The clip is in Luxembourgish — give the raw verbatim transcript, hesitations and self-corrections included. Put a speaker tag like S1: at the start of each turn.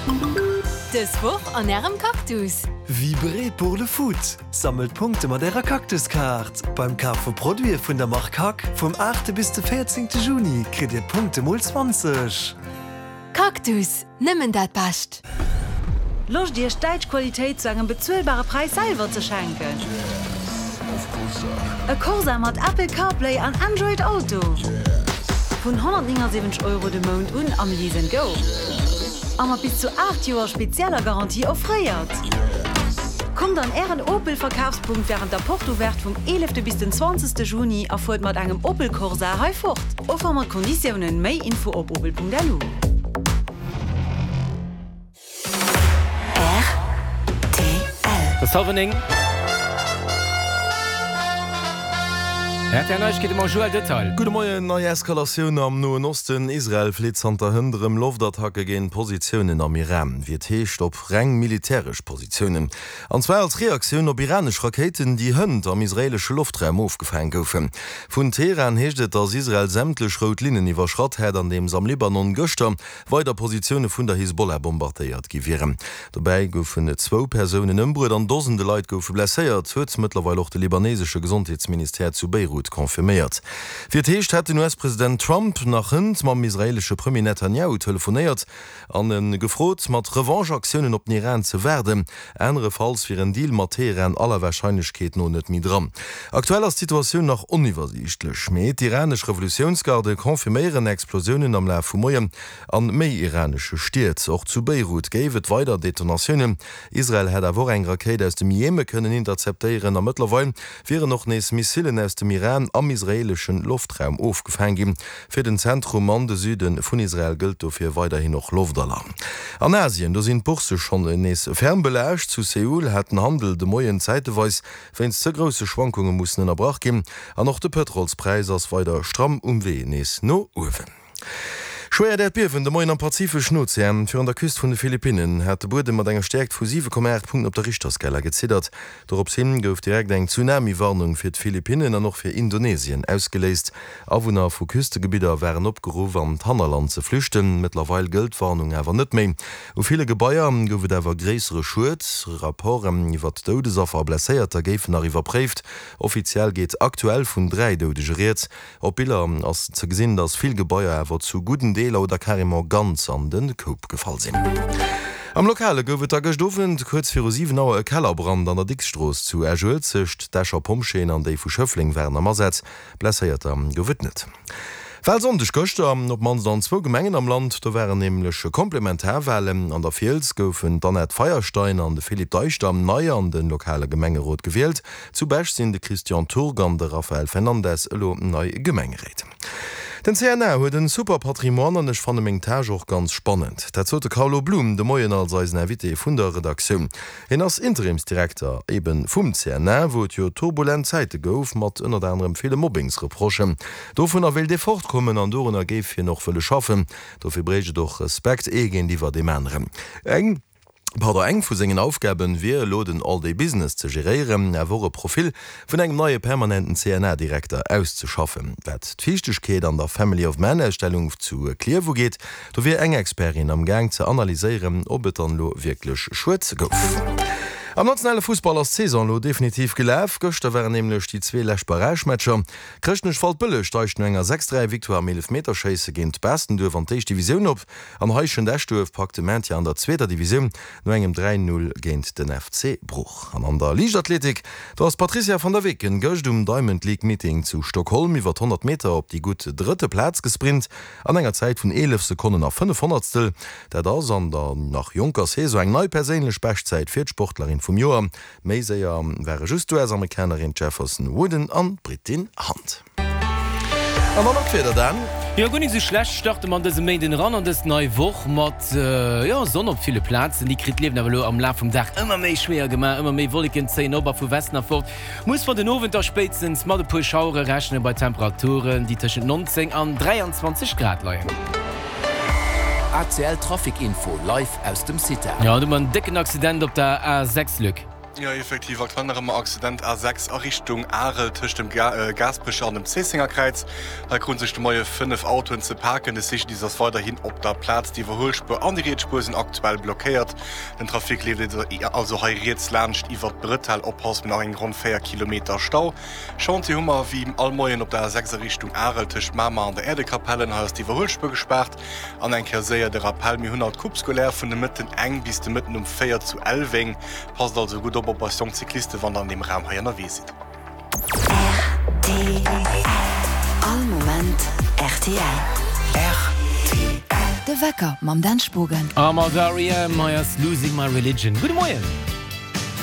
S1: Dës Woch an Ärem Cactus!
S2: Vibrez pour le foot! Sammelt Punkte mat Ärer Cactus-Kaart! Beim Kaf vu Produite vun der Mark Hack vum aachte bis de véierzéngte Juni kritt Dir Punkte mol zwanzeg!
S1: Cactus, nëmmen dat Bescht!
S3: Loscht Iech däitsch Qualitéit zu engem bezuelbare Präis selwer ze schenken? E Corsa mat Apple CarPlay an Android Auto? Vun honnertnéngasiwwenzeg Euro de Mount un am Lease and Go. A mat bis zu aacht Joer spezieller Garantie offréiert. Kommt an Ären Opel Verkafspunkt wärend der Porte Ouverte vum eelefte bis den zwanzegste Juni a fuert mat engem Opel Corsa hei fort. Offer mat Konditiounen. Méi Info op opel.lu.
S4: Et ass hallwer néng. R T L Neiegkeete mam Joël Detail.
S5: Gudde Moien, Nei Eskalatioun am Noen Osten, Israel flitt zanter hënt erëm Loftattacke géint Positiounen am Iran, wéi et heescht op reng militäresch Positiounen. An zwar als Reaktioun op iranesch Rakéiten, déi hënt am israeelesche Loftraum ofgefaang goufen. Vun Teheran heescht et, datt Israel sämtlech rout Linnen iwwerschratt hätt, andeems am Libanon gëschter weider Positioune vun der Hisbollah bombardéiert gi wieren. Dobäi goufen zwou Persounen ëmbruet an Dosende Leit goufe blesséiert, huet mëttlerweil och de libanesesche Gesondheetsministère zu Beirut confirméiert. Wéi et heescht, hätt den U S-President Trump nach hënt mam israeelesche Premier Netanjahu telefonéiert an e gefrot, mat Revanche-Aktiounen op den Iran ze waarden. Anerefalls wier en Deal mat Teheran aller Warscheinlechkeet no net méi dran. Aktuell ass d'Situatioun nach oniwwersiichtlech, mee d'iranesch Revolutiounsgarde confirméieren Explosiounen am Laf vum Moien an méi iranesche Stied. Och zu Beirut géif et weider Detonatiounen. Israel hätt awer och eng Rakéit aus dem Jeme kënnen interceptéieren a mëttlerweil wieren och nees Missilen aus dem Iran am israeeleschen Loftraum ofgefaang ginn. Fir den Zentrum an de Süde vun Israel gëllt dofir weiderhin och Loftalarm. An Asien, do sinn d'Boursse schonn nees ferm belaascht. Zu Seoul hat den Handel de Moien zäiteweis wéinst ze grousse Schwankunge mussen ënnerbrach ginn an och de Pëtrolspräis ass weider stramm um Wee nees no uewen. Schwéiert Äerdbiewen de Moien am Pazifeschen Ozean. Virun der Küst vun de Philippinnen hat de Buedem mat enger Stäerkt vu siwe Komma aacht Punkten op der Richterskala geziddert. Dorops hin gouf direkt eng Tsunami-Warnung fir d'Philippinnen an och fir Indonesien ausgeléist. Awunner vu Küstegebidder waren opgeruff an d'Hannerland ze flüchten. Mëttlerweil gëllt d'Warnung awer net méi. U ville Gebaier gouf et awer gréissere Schued. Rapporten iwwert Doudesaffer a Blesséierter géifen nach iwwerpréift. Offiziell geet aktuell vun dräi Doudege rieds. Op Biller ass ze gesinn, dass vill Gebaier awer zu gudden Deeler oder carrément ganz an de Koup gefall sinn. Am Lokale gouf et da gëscht Owend kuerz viru siwen Auer e Kellerbrand an der Dicks-Strooss zu Esch-Uelzecht. D'Escher Pompjeeën an déi vu Schëffleng waren am Asaz. Blesséierter gouf et net. Walsonndeg gëschter op d'mannst an zwou Gemengen am Land. Do waren nämlech Komplementarwalen. An der Fiels goufen d'Annette Feierstein an de Philippe Deichter nei an de lokale Gemengerot gewielt. Zu Bech sinn de Christian Turg an de Rafael Fernandes elo nei Gemengeréit. Den C N A huet en super Patrimoine an ech fanne meng Tâche och ganz spannend. Dat sot de Carlo Blum de Moien als eisen Invité vun der Redaktioun. Hien ass Interimsdirekter eben vum C N A, wou et jo turbulent Zäite gouf mat ënnert anerem ville Mobbingsreprochen. Dovunner wéilt ee fortkommen an dorunner géif hien och wëlle schaffen. Dofir bréicht et och Respekt ee géintiwwer deem aneren. Eng Pardon, eng vu sengen Aufgaben wier elo den All-Day-Business ze geréieren, awer och e Profil vun engem neie permanenten C N A-Direkter auszeschaffen. Wat d'Fiichtegkeet an der Family of Man-Ausstellung zu Klierf ugeet, do wier eng Expertin am Gaang ze analyséieren, ob et dann elo wierklech Schued gouf. Am nationale Fussball ass d'Saison elo definitiv gelaf. Gëschter waren nämlech déi zwee lescht Barragematcher. Chrëschtnech-Waldbëlleg steigt no enger sechs-dräi Victoire am Eelefmeterschéisse géint Baastenduerf an d'éischt Divisioun op an Heischent-Eschduerf packt de Maintien an der zweeter Divisioun no engem dräi-null géint den F C Bruch. An an der Liichtathletik, do ass d'Patrizia van der Weken gëscht um Diamond League Meeting zu Stockholm iwwer honnert Meter op déi gutt drëtte Plaz gesprint an enger Zäit vun eelef Sekonnen a fënnef Honnertstel. Dat ass an der nach jonker Saison eng nei perséinlech Beschtzäit fir d'Sportlerin vum Joer. Méi séier ware just d'U S-Amerikanerin Jefferson Wooden an d'Britin Hunt. An dann nach d'Wieder, Dan.
S4: Jo, guer nik sou schlecht starte mer an dësem Méinden eran an dës nei Woch mat, jo, Sonn op ville Plazen. Déi kritt d'Liewen awer elo am Laf vum Dag ëmmer méi schwéier gemaach. Ëmmer méi Wolleken zéien op a vu Westen erfort muss mer den Owend da spéitstens mat e puer Schauere rechnen, bei Temperaturen, déi tëschent neunzéng an dräianzwanzeg Grad leien.
S6: A C L Trafic Info live aus dem CITA.
S4: Jo, do hu mer en décken Accident op der A sechs, Luc.
S6: Jo, effektiv, aktuell nach ëmmer Accident A sechs a Richtung Arel tëscht dem Gaasperecher an dem Zéissengerkräiz. Hei kruten sech de Moie fënnef Autoen ze paken. De C G D I S ass weiderhin op der Plaz. D'Iwwerhuelspuer an déi riets Spuer sinn aktuell blockéiert. Den Trafic leeft also hei riets laanscht iwwert d'Bretelle. Oppassen, nach eng ronn véier Kilometer Stau. Chantier hu mer wéi all Moien op der A sechs a Richtung Arel tëscht Mamer an der Äerdekapellen. Hei ass d'Iwwerhuelspuer gespaart. An eng Kéier séier de Rappell, Mir hunn haut d'Coupe scolaire vun de Mëtten eng bis de Mëtten um véier zu Elweng. Passt also gutt op op eis jonk Cyclisten, wann der an deem Raum hei ënnerwee sidd.
S1: Rtl. All Moment rtl.
S2: Rtl.
S1: De Wecker mam Dan Spogen.
S4: A mat R E M. Hei ass Losing My Religion. Gudde Moien.